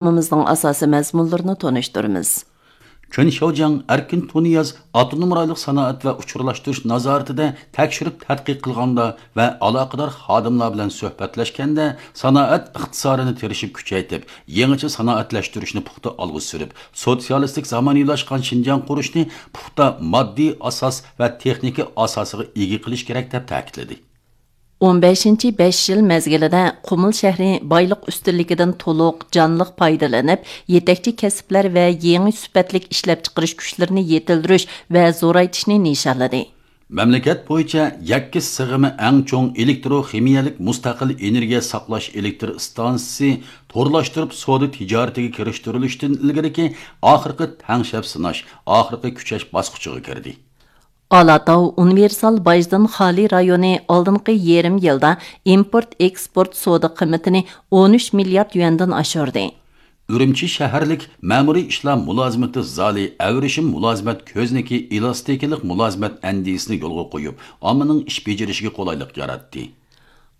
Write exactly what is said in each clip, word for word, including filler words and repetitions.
پروگراممىمىزنىڭ ئاساسىي مەزمۇنلىرىنى تونۇشتۇرىمىز. چېن شياۋجياڭ ئەركىن تۇنىياز ئاپتونوم رايونلۇق سانائەت ۋە ئۇچۇرلاشتۇرۇش نازارىتىدە تەكشۈرۈپ تەتقىق قىلغاندا ۋە ئالاقىدار خادىملار بىلەن سۆھبەتلەشكەندە، سانائەت ئىقتىسادىنى تىرىشىپ كۈچەيتىپ، يېڭىچە سانائەتلەشتۈرۈشنى پۇختا ئالغا سۈرۈپ، سوتسىيالىستىك زامانىۋىلاشقان شىنجاڭ قۇرۇشنى پۇختا ماددىي ئاساس ۋە تېخنىكا ئاساسىغا ئىگە قىلىش كېرەك، دەپ تەكىتلىدى. ئون بەشىنچى بەش يىل مەزگىلىدە قۇمۇل شەھىرى بايلىق ئۈستۈنلۈكىدىن تولۇق، جانلىق پايدىلىنىپ، يېتەكچى كەسىپلەر ۋە يېڭى سۈپەتلىك ئىشلەپچىقىرىش كۈچلىرىنى يېتىلدۈرۈش ۋە زورايتىشنى نىشانلىدى. مەملىكەت بويىچە يەككە سىغىمى ئەڭ چوڭ ئېلېكتروخىمىيەلىك مۇستەقىل ئېنېرگىيە ساقلاش ئېلېكتر ئىستانسىسى تورلاشتۇرۇپ سودا تىجارىتىگە كىرىشتۈرۈلۈشتىن ئىلگىرىكى ئاخىرقى تەڭشەپ سىناش، ئاخىرقى كۈچەش باسقۇچىغا كىردى. ئالاتاۋ ئۇنىۋېرسال باجدىن خالىي رايونى ئالدىنقى يېرىم يىلدا ئىمپورت ئېكسپورت سودا قىممىتىنى ئون ئۈچ مىليارد يۈەندىن ئاشۇردى. ئۈرۈمچى شەھەرلىك مەمۇرىي ئىشلار مۇلازىمىتى زالى ئەۋرىشىم مۇلازىمەت كۆزنىكى ئېلاستىكىلىق مۇلازىمەت ئەندىزىسىنى يولغا قويۇپ، ئاممىنىڭ ئىش بېجىرىشىگە قولايلىق ياراتتى.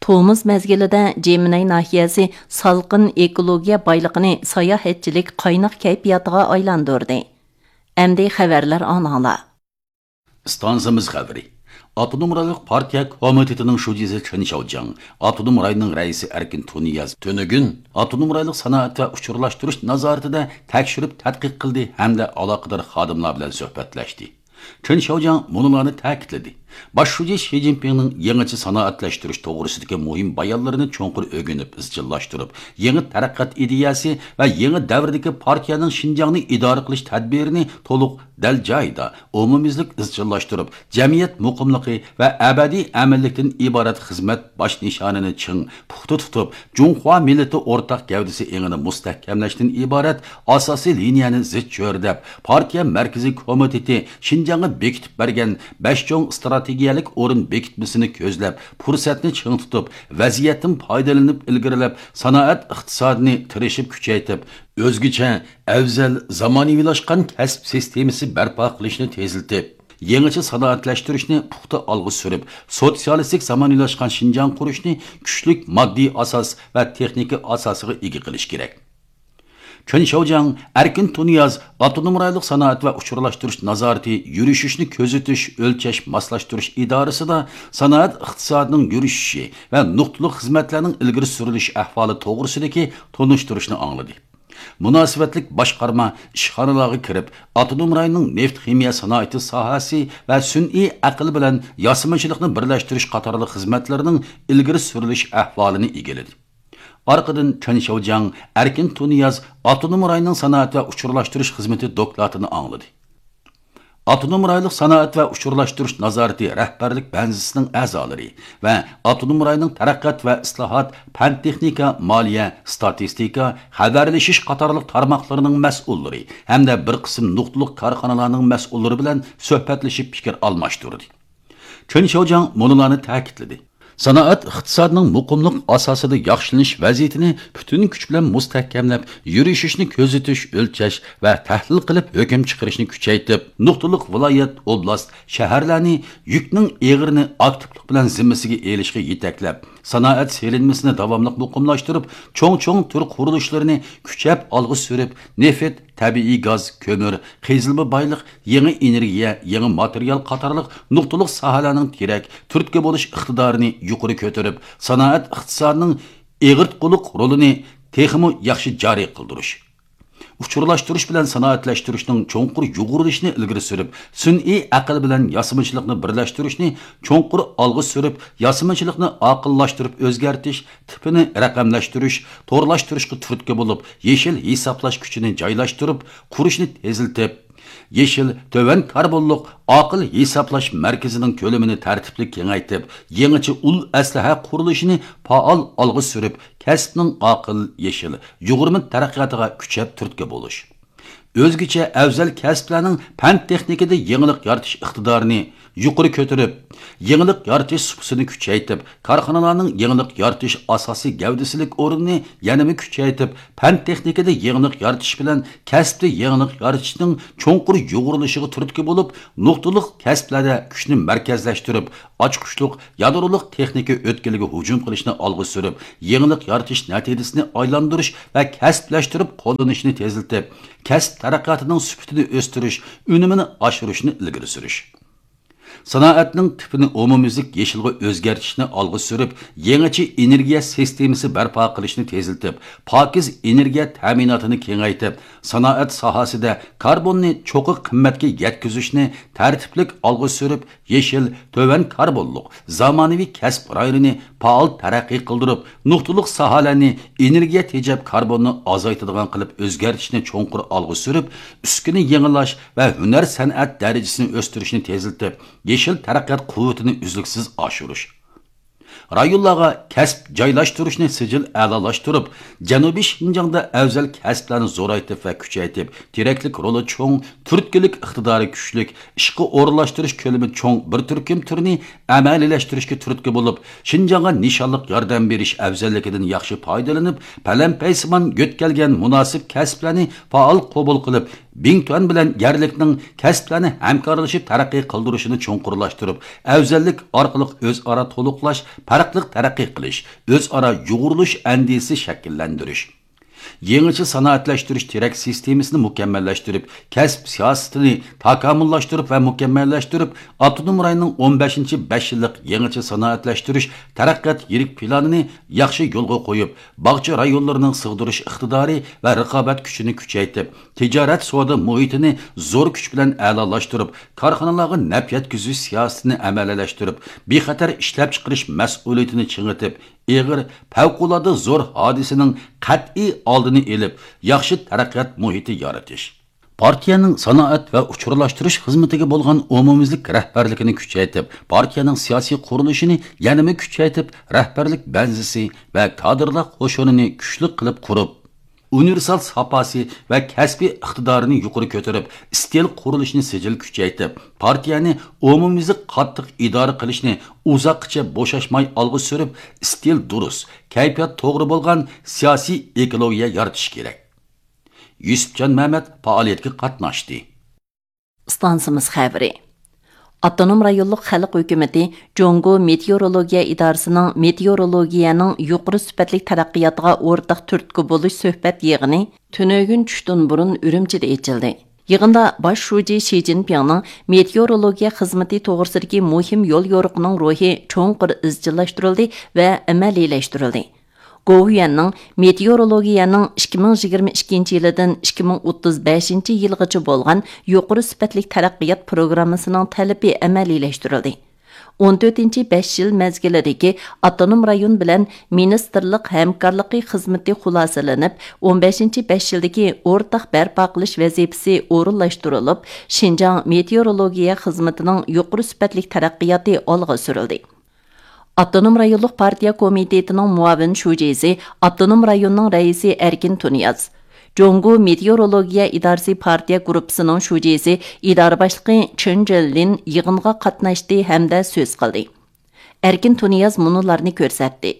تومۇز مەزگىلىدە جېمىنەي ناھىيەسى سالقىن ئېكولوگىيە بايلىقىنى ساياھەتچىلىك قايناق كەيپىياتىغا ئايلاندۇردى. ئەمدى خەۋەرلەر ئاڭلاڭلار. ئىستانسىمىز خەۋىرى. ئاپتونوم رايونلۇق پارتىيە كومىتېتىنىڭ شۇجىسى چېن شياۋجياڭ، ئاپتونوم رايوننىڭ رەئىسى ئەركىن تۇنىياز تۈنۈگۈن ئاپتونوم رايونلۇق سانائەت ۋە ئۇچۇرلاشتۇرۇش نازارىتىدە تەكشۈرۈپ تەتقىق قىلدى ھەمدە ئالاقىدار خادىملار بىلەن سۆھبەتلەشتى. چېن شياۋجياڭ مۇنۇلارنى تەكىتلىدى: باش شۇجى شى جىنپىڭنىڭ يېڭىچە سانائەتلەشتۈرۈش توغرىسىدىكى مۇھىم بايانلىرىنى چوڭقۇر ئۆگىنىپ ئىزچىللاشتۇرۇپ، يېڭى تەرەققىيات ئىدىيەسى ۋە يېڭى دەۋردىكى پارتىيەنىڭ شىنجاڭنى ئىدارە قىلىش تەدبىرىنى تولۇق، دەل جايىدا، ئومۇميۈزلۈك ئىزچىللاشتۇرۇپ، جەمئىيەت مۇقىملىقى ۋە ئەبەدىي ئەمىنلىكتىن ئىبارەت خىزمەت باش نىشانىنى چىڭ، پۇختا تۇتۇپ، جۇڭخۇا مىللىتى ئورتاق گەۋدىسى ئېڭىنى مۇستەھكەملەشتىن ئىبارەت ئاساسىي لىنىيەنى زىچ چۆرىدەپ، پارتىيە مەركىزىي كومىتېتى شىنجاڭغا بېكىتىپ بەرگەن بەش چوڭ ئىستراتېگىيەلىك ئورۇن بېكىتمىسىنى كۆزلەپ، پۇرسەتنى چىڭ تۇتۇپ، ۋەزىيەتتىن پايدىلىنىپ ئىلگىرىلەپ، سانائەت ئىقتىسادىنى تىرىشىپ كۈچەيتىپ، ئۆزگىچە، ئەۋزەل، زامانىۋىلاشقان كەسىپ سىستېمىسى بەرپا قىلىشنى تېزلىتىپ، يېڭىچە سانائەتلەشتۈرۈشنى پۇختا ئالغا سۈرۈپ، سوتسىيالىستىك زامانىۋىلاشقان شىنجاڭ قۇرۇشنى كۈچلۈك ماددىي ئاساس ۋە تېخنىكا ئاساسىغا ئىگە قىلىش كېرەك. چېن شياۋجياڭ ئەركىن تۇنىياز ئاپتونوم رايونلۇق سانائەت ۋە ئۇچۇرلاشتۇرۇش نازارىتى يۈرۈشۈشنى كۆزىتىش، ئۆلچەش، ماسلاشتۇرۇش ئىدارىسىدا سانائەت ئىقتىسادىنىڭ يۈرۈشۈشى ۋە نۇقتىلىق خىزمەتلەرنىڭ ئىلگىرى سۈرۈلۈش ئەھۋالى توغرىسىدىكى تونۇشتۇرۇشنى ئاڭلىدى. مۇناسىۋەتلىك باشقارما ئىشخانىلارغا كىرىپ، ئاپتونوم رايوننىڭ نېفىت خىمىيە سانائىتى ساھەسى ۋە سۈنئىي ئەقىل بىلەن ياسىمىچىلىقنى بىرلەشتۈرۈش قاتارلىق خىزمەتلىرىنىڭ ئىلگىرى سۈرۈلۈش ئەھۋالىنى ئىگىلىدى. ئارقىدىن چېن شياۋجياڭ ئەركىن تۇنىياز ئاپتونوم رايوننىڭ سانائەت ۋە ئۇچۇرلاشتۇرۇش خىزمىتى دوكلاتىنى ئاڭلىدى. ئاپتونوم رايونلۇق سانائەت ۋە ئۇچۇرلاشتۇرۇش نازارىتى رەھبەرلىك بەنزىسىنىڭ ئەزالىرى ۋە ئاپتونوم رايوننىڭ تەرەققىيات ۋە ئىسلاھات، پەن تېخنىكا، مالىيە، ستاتىستىكا، خەۋەرلىشىش قاتارلىق تارماقلىرىنىڭ مەسئۇللىرى ھەمدە بىر قىسىم نۇقتىلىق كارخانىلارنىڭ مەسئۇللىرى بىلەن سۆھبەتلىشىپ پىكىر ئالماشتۇردى. چېن شياۋجياڭ مۇنۇلارنى تەكىتلىدى: سانائەت ئىقتىسادىنىڭ مۇقىملىق ئاساسىدا ياخشىلىنىش ۋەزىيىتىنى پۈتۈن كۈچ بىلەن مۇستەھكەملەپ، يۈرۈشۈشنى كۆزىتىش، ئۆلچەش ۋە تەھلىل قىلىپ ھۆكۈم چىقىرىشنى كۈچەيتىپ، نۇقتىلىق ۋىلايەت، ئوبلاست، شەھەرلەرنى يۈكنىڭ ئېغىرىنى ئاكتىپلىق بىلەن زىممىسىگە ئېلىشقا يېتەكلەپ، سانائەت سېلىنمىسىنى داۋاملىق مۇقىملاشتۇرۇپ، چوڭ-چوڭ تۈر قۇرۇلۇشلىرىنى كۈچەپ ئالغا سۈرۈپ، نېفىت، تەبىئىي گاز، كۆمۈر، قېزىلما بايلىق، يېڭى ئېنېرگىيە، يېڭى ماتېرىيال قاتارلىق نۇقتىلىق ساھەلەرنىڭ تىرەك، تۈرتكە بولۇش ئىقتىدارىنى يۇقىرى كۆتۈرۈپ، سانائەت ئىقتىسادىنىڭ ئېغىرتقۇلۇق رولىنى تېخىمۇ ياخشى جارى قىلدۇرۇش، ئۇچۇرلاشتۇرۇش بىلەن سانائەتلەشتۈرۈشنىڭ چوڭقۇر يۇغۇرۇلۇشىنى ئىلگىرى سۈرۈپ، سۈنئىي ئەقىل بىلەن ياسىمىچىلىقنى بىرلەشتۈرۈشنى چوڭقۇر ئالغا سۈرۈپ، ياسىمىچىلىقنى ئاقىللاشتۇرۇپ ئۆزگەرتىش، تىپىنى رەقەملەشتۈرۈش، تورلاشتۇرۇشقا تۈرتكە بولۇپ، يېشىل ھېسابلاش كۈچىنى جايلاشتۇرۇپ، قۇرۇشنى تېزلىتىپ، يېشىل، تۆۋەن كاربونلۇق، ئاقىل ھېسابلاش مەركىزىنىڭ كۆلىمىنى تەرتىپلىك كېڭەيتىپ، يېڭىچە ئۇل ئەسلىھە قۇرۇلۇشىنى پائال ئالغا سۈرۈپ، كەسىپنىڭ ئاقىل، يېشىل، يۇغۇرما تەرەققىياتىغا كۈچەپ تۈرتكە بولۇش. ئۆزگىچە ئەۋزەل كەسىپلەرنىڭ پەن تېخنىكىدا يېڭىلىق يارىتىش ئىقتىدارىنى يۇقىرى كۆتۈرۈپ، يېڭىلىق يارىتىش سۇپىسىنى كۈچەيتىپ، كارخانىلارنىڭ يېڭىلىق يارىتىش ئاساسىي گەۋدىسىلىك ئورنىنى يەنىمۇ كۈچەيتىپ، پەن تېخنىكىدا يېڭىلىق يارىتىش بىلەن كەسىپتە يېڭىلىق يارىتىشنىڭ چوڭقۇر يۇغۇرۇلۇشىغا تۈرتكە بولۇپ، نۇقتىلىق كەسىپلەردە كۈچنى مەركەزلەشتۈرۈپ، ئاچقۇچلۇق يادرولۇق تېخنىكا ئۆتكىلىگە ھۇجۇم قىلىشنى ئالغا سۈرۈپ، يېڭىلىق يارىتىش نەتىجىسىنى ئايلاندۇرۇش ۋە كەسىپلەشتۈرۈپ قوللىنىشنى تېزلىتىپ، كەسىپ تەرەققىياتىنىڭ سۈپىتىنى ئۆستۈرۈش، ئۈنۈمىنى ئاشۇرۇشنى ئىلگىرى سۈرۈش. سانائەتنىڭ تىپىنى ئومۇميۈزلۈك يېشىلغا ئۆزگەرتىشنى ئالغا سۈرۈپ، يېڭىچە ئېنېرگىيە سىستېمىسى بەرپا قىلىشنى تېزلىتىپ، پاكىز ئېنېرگىيە تەمىناتىنى كېڭەيتىپ، سانائەت ساھەسىدە كاربوننى چوققا قىممەتكە يەتكۈزۈشنى تەرتىپلىك ئالغا سۈرۈپ، يېشىل، تۆۋەن كاربونلۇق، زامانىۋى كەسىپ رايونىنى پائال تەرەققىي قىلدۇرۇپ، نۇقتىلىق ساھەلەرنى ئېنېرگىيە تېجەپ كاربوننى ئازايتىدىغان قىلىپ ئۆزگەرتىشنى چوڭقۇر ئالغا سۈرۈپ، ئۈسكۈنە يېڭىلاش ۋە ھۈنەر سەنئەت دەرىجىسىنى ئۆستۈرۈشنى تېزلىتىپ، يېشىل تەرەققىيات قۇۋۋىتىنى ئۈزلۈكسىز ئاشۇرۇش. رايونلارغا كەسىپ جايلاشتۇرۇشنى سىجىل ئەلالاشتۇرۇپ، جەنۇبىي شىنجاڭدا ئەۋزەل كەسىپلەرنى زورايتىپ ۋە كۈچەيتىپ، تىرەكلىك رولى چوڭ، تۈرتكىلىك ئىقتىدارى كۈچلۈك، ئىشقا ئورۇنلاشتۇرۇش كۆلىمى چوڭ بىر تۈركۈم تۈرنى ئەمەلىيلەشتۈرۈشكە تۈرتكە بولۇپ، شىنجاڭغا نىشانلىق ياردەم بېرىش ئەۋزەللىكىدىن ياخشى پايدىلىنىپ، پەلەمپەيسىمان يۆتكەلگەن مۇناسىپ كەسىپلەرنى پائال قوبۇل قىلىپ، بىڭتۈەن بىلەن يەرلىكنىڭ كەسىپلەرنى ھەمكارلىشىپ تەرەققىي قىلدۇرۇشىنى چوڭقۇرلاشتۇرۇپ، ئەۋزەللىك ئارقىلىق ئۆزئارا تولۇقلاش، پەرقلىق تەرەققىي قىلىش، ئۆزئارا يۇغۇرۇلۇش ئەندىزىسى شەكىللەندۈرۈش. يېڭىچە سانائەتلەشتۈرۈش تىرەك سىستېمىسىنى مۇكەممەللەشتۈرۈپ، كەسىپ سىياسىتىنى تاكامۇللاشتۇرۇپ ۋە مۇكەممەللەشتۈرۈپ، ئاپتونوم رايوننىڭ ئون بەشىنچى بەش يىللىق يېڭىچە سانائەتلەشتۈرۈش تەرەققىيات يىرىك پىلانىنى ياخشى يولغا قويۇپ، باغچە رايونلىرىنىڭ سىغدۇرۇش ئىقتىدارى ۋە رىقابەت كۈچىنى كۈچەيتىپ، تىجارەت سودا مۇھىتىنى زور كۈچ بىلەن ئەلالاشتۇرۇپ، كارخانىلارغا نەپ يەتكۈزۈش سىياسىتىنى ئەمەلىيلەشتۈرۈپ، بىخەتەر ئىشلەپچىقىرىش مەسئۇلىيىتىنى چىڭىتىپ، ئېغىر، پەۋقۇلئاددە زور ھادىسىنىڭ قەتئىي ئالدىنى ئېلىپ، ياخشى تەرەققىيات مۇھىتى يارىتىش. پارتىيەنىڭ سانائەت ۋە ئۇچۇرلاشتۇرۇش خىزمىتىگە بولغان ئومۇميۈزلۈك رەھبەرلىكىنى كۈچەيتىپ، پارتىيەنىڭ سىياسىي قۇرۇلۇشىنى يەنىمۇ كۈچەيتىپ، رەھبەرلىك بەنزىسى ۋە كادىرلار قوشۇنىنى كۈچلۈك قىلىپ قۇرۇپ، ئۇنىۋېرسال ساپاسى ۋە كەسپىي ئىقتىدارىنى يۇقىرى كۆتۈرۈپ، ئىستىل قۇرۇلۇشىنى سىجىل كۈچەيتىپ، پارتىيەنى ئومۇميۈزلۈك قاتتىق ئىدارە قىلىشنى ئۇزاققىچە بوشاشماي ئالغا سۈرۈپ، ئىستىل دۇرۇس، كەيپىيات توغرا بولغان سىياسىي ئېكولوگىيە يارىتىش كېرەك. يۈسۈپجان مەمەت پائالىيەتكە قاتناشتى. ئىستانسىمىز خەۋىرى. ئاپتونوم رايونلۇق خەلق ھۆكۈمىتى جۇڭگو مېتېئورولوگىيە ئىدارىسىنىڭ مېتېئورولوگىيەنىڭ يۇقىرى سۈپەتلىك تەرەققىياتىغا ئورتاق تۈرتكە بولۇش سۆھبەت يىغىنى تۈنۈگۈن چۈشتىن بۇرۇن ئۈرۈمچىدە ئېچىلدى. يىغىندا باش شۇجى شى جىنپىڭنىڭ مېتېئورولوگىيە خىزمىتى توغرىسىدىكى مۇھىم يول يورۇقىنىڭ روھى چوڭقۇر ئىزچىللاشتۇرۇلدى ۋە ئەمەلىيلەشتۈرۈلدى. گوۋۇيۈەننىڭ مېتېئورولوگىيەنىڭ ئىككى مىڭ يىگىرمە ئىككىنچى يىلىدىن ئىككى مىڭ ئوتتۇز بەشىنچى يىلغىچە بولغان يۇقىرى سۈپەتلىك تەرەققىيات پروگراممىسىنىڭ تەلىپى ئەمەلىيلەشتۈرۈلدى. ئون تۆتىنچى بەش يىل مەزگىلىدىكى ئاپتونوم رايون بىلەن مىنىستىرلىق ھەمكارلىقى خىزمىتى خۇلاسىلىنىپ، ئون بەشىنچى بەش يىلدىكى ئورتاق بەرپا قىلىش ۋەزىپىسى ئورۇنلاشتۇرۇلۇپ، شىنجاڭ مېتېئورولوگىيە خىزمىتىنىڭ يۇقىرى سۈپەتلىك تەرەققىياتى ئالغا سۈرۈلدى. ئاپتونوم رايونلۇق پارتىيە كومىتېتىنىڭ مۇئاۋىن شۇجىسى، ئاپتونوم رايوننىڭ رەئىسى ئەركىن تۇنىياز، جۇڭگو مېتېئورولوگىيە ئىدارىسى پارتىيە گۇرۇپپىسىنىڭ شۇجىسى، ئىدارە باشلىقى چېن جېنلىن يىغىنغا قاتناشتى ھەمدە سۆز قىلدى. ئەركىن تۇنىياز مۇنۇلارنى كۆرسەتتى.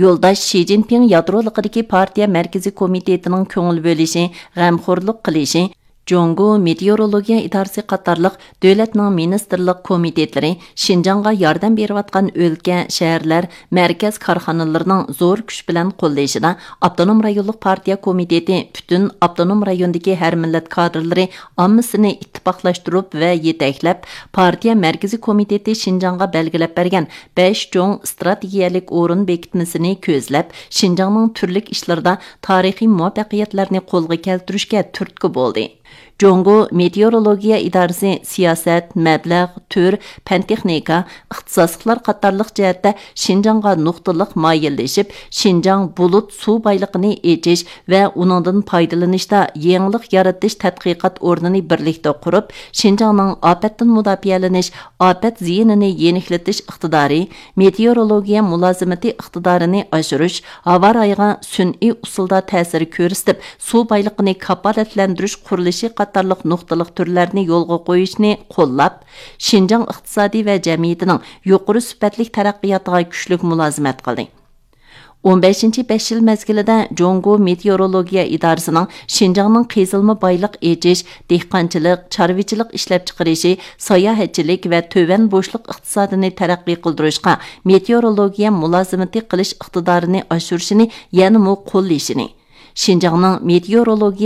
يولداش شى جىنپىڭ يادرولۇقىدىكى پارتىيە مەركىزىي كومىتېتىنىڭ كۆڭۈل بۆلۈشى، غەمخورلۇق قىلىشى، جۇڭگو مېتېئورولوگىيە ئىدارىسى قاتارلىق دۆلەتنىڭ مىنىستىرلىق كومىتېتلىرى شىنجاڭغا ياردەم بېرىۋاتقان ئۆلكە، شەھەرلەر، مەركەز كارخانىلىرىنىڭ زور كۈچ بىلەن قوللىشىدا ئاپتونوم رايونلۇق پارتىيە كومىتېتى پۈتۈن ئاپتونوم رايوندىكى ھەر مىللەت كادىرلىرى ئاممىسىنى ئىتتىپاقلاشتۇرۇپ ۋە يېتەكلەپ، پارتىيە مەركىزىي كومىتېتى شىنجاڭغا بەلگىلەپ بەرگەن بەش چوڭ ئىستراتېگىيەلىك ئورۇن بېكىتمىسىنى كۆزلەپ، شىنجاڭنىڭ تۈرلۈك ئىشلىرىدا تارىخىي مۇۋەپپەقىيەتلەرنى قولغا كەلتۈرۈشكە تۈرتكە بولدى. جۇڭگو مېتېئورولوگىيە ئىدارىسى سىياسەت، مەبلەغ، تۈر، پەن-تېخنىكا، ئىختىساسلىقلار قاتارلىق جەھەتتە شىنجاڭغا نۇقتىلىق مايىللىشىپ، شىنجاڭ بۇلۇت سۇ بايلىقىنى ئېچىش ۋە ئۇنىڭدىن پايدىلىنىشتا يېڭىلىق يارىتىش تەتقىقات ئورنىنى بىرلىكتە قۇرۇپ، شىنجاڭنىڭ ئاپەتتىن مۇداپىئەلىنىش، ئاپەت زىيىنىنى يېنىكلىتىش ئىقتىدارى، مېتېئورولوگىيە مۇلازىمىتى ئىقتىدارىنى ئاشۇرۇش، ھاۋا رايىغا سۈنئىي ئۇسۇلدا تەسىر كۆرسىتىپ، سۇ بايلىقىنى كاپالەتلەندۈرۈش قۇرۇلۇش قاتارلىق نۇقتىلىق تۈرلەرنى يولغا قويۇشنى قوللاپ، شىنجاڭ ئىقتىسادى ۋە جەمئىيىتىنىڭ يۇقىرى سۈپەتلىك تەرەققىياتىغا كۈچلۈك مۇلازىمەت قىلدى. ئون بەشىنچى بەش يىل مەزگىلىدە جۇڭگو مېتېئورولوگىيە ئىدارىسىنىڭ شىنجاڭنىڭ قېزىلما بايلىق ئېچىش، دېھقانچىلىق، چارۋىچىلىق ئىشلەپچىقىرىشى، ساياھەتچىلىك ۋە تۆۋەن بوشلۇق ئىقتىسادىنى تەرەققىي قىلدۇرۇشقا مېتېئورولوگىيە مۇلازىمىتى قىلىش ئىقتىدارىنى ئاشۇرۇشىنى يەنىمۇ قوللىشىنى، شىنجاڭنىڭ مېتېئورولوگىيە